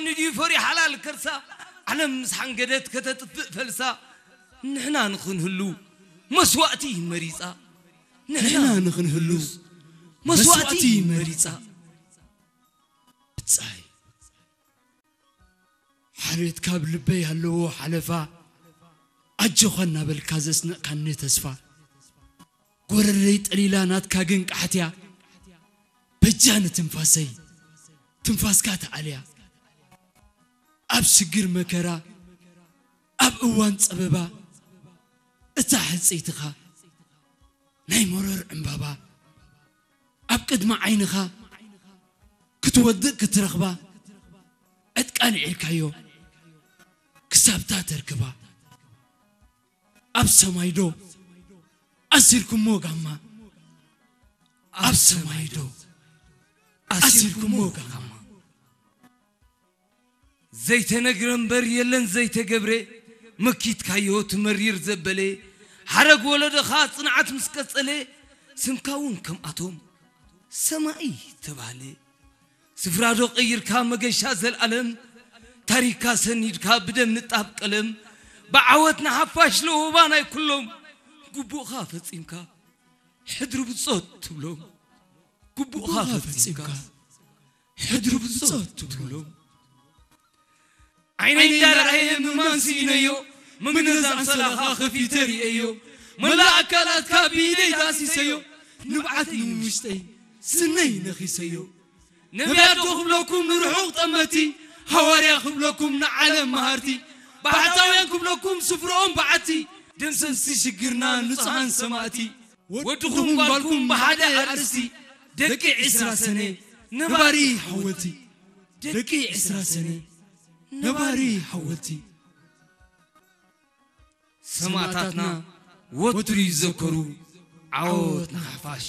ድዩ ፈሪሓ ሓላል ከርሳ? ዓለም ምስ ሓንገደት ከተጥፍእ ፈልሳ፣ ንሕና ንኽንህሉ መስዋእቲ መሪጻ። ንሕና ንኽንህሉ መስዋእቲ መሪጻ። ብጻይ ሓሬት ካብ ልበይ ኣለዎ ሓለፋ፣ ኣጆኻ እናበልካ ዘስነቕካኒ ተስፋ። ጎረረይ ጠሊላ ናትካ ግን ቃሕትያ፣ በጃ ንትንፋሰይ ትንፋስካ ተዓልያ። ኣብ ሽግር መከራ፣ ኣብ እዋን ጸበባ፣ እታ ሕጽይትኻ ናይ መሮር ዕምባባ፣ ኣብ ቅድሚ ዓይንኻ ክትወድቕ ክትረኽባ፣ ዕጥቃ ኣልዒልካዮ ክሳብታ ተርክባ። ኣብ ሰማይ ዶ ኣሲርኩሞ ጋማ? ኣብ ሰማይ ዶ ኣሲርኩሞ ጋማ? ዘይተነግረ እምበር የለን ዘይተገብረ፣ መኪትካዮ ትመሪር ዘበለ። ሓረግ ወለዶኻ ጽንዓት ምስ ቀጸለ፣ ስምካ እውን ከምኣቶም ሰማኢ ተባህለ። ስፍራ ዶ ቀይርካ መገሻ ዘልኣለም፣ ታሪክካ ሰኒድካ ብደም ንጣብ ቀለም። ብዓወት ንሓፋሽ ለወባ ናይ ኩሎም፣ ግቡእኻ ፈጺምካ ሕድሪ ብጾት ትብሎም። ግቡእኻ ፈጺምካ ሕድሪ ብጾት ትብሎም። ዓይነይ እንዳረኣየ ምማን ስኢነዮ፣ መግነዝ ኣንሶላኻ ከፊተ ርእየዮ። መላእ ኣካላትካ ብኢደይ ዳሲሰዮ፣ ንብዓት ንውሽጠይ ስነይ ነኺሰዮ። ነብያት ዶ ክብለኩም ንርሑቕ ጠመቲ፣ ሃዋርያ ክብለኩም ንዓለም መሃርቲ፣ ባሕታውያን ክብለኩም ስፍርኦም በዓቲ። ደምሰስቲ ሽግርና ንጹሃን ሰማእቲ፣ ወድኹም ጓልኩም ብሓደ ኣርእስቲ። ደቂ ዕስራ ሰነ ነባሪ ሓወልቲ፣ ደቂ ዕስራ ሰነ ነባሪ ሓወልቲ። ሰማእታትና ወትሩ ይዘከሩ፣ ዓወት ንሓፋሽ።